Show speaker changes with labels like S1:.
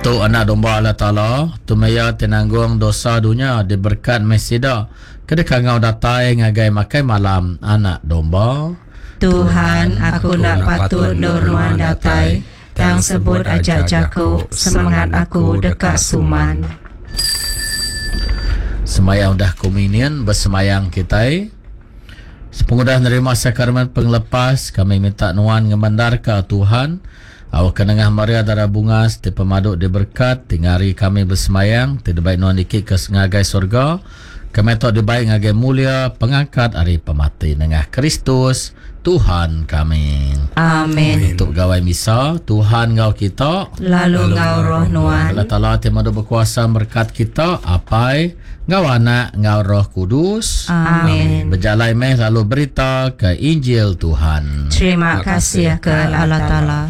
S1: Tu Anak Domba Allah Taala, tu meh Iya ti nanggung dosa dunya, diberekat meh sida ke dikangau datai ngagai makai malam Anak Domba.
S2: Tuhan, aku enda patut endur Nuan datai, tang sebut aja jaku, semengat aku deka suman.
S1: Semaya udah komunion besemayang kitai. Sepengudah nerima sakramen pengelepas, kami minta Nuan ngemendarka, Tuhan, Awakka nengah Maria Dara Bungas ti pemadu diberekat ti ngari kami besemayang ti dibai nuan niki ke ngagai sorga, kami tau dibai ngagai mulia pengangkat ari pemati nengah Kristus Tuhan kami.
S2: Amen.
S1: Nutup gawai misa, Tuhan enggau kita.
S2: Lalu enggau roh nuan.
S1: Allah Taala ti madu bekuasa merekat kita, Apai, enggau Anak, enggau Roh Kudus.
S2: Amen.
S1: Bejalai meh lalu berita ke Injil Tuhan.
S2: Terima kasih ke Allah Taala.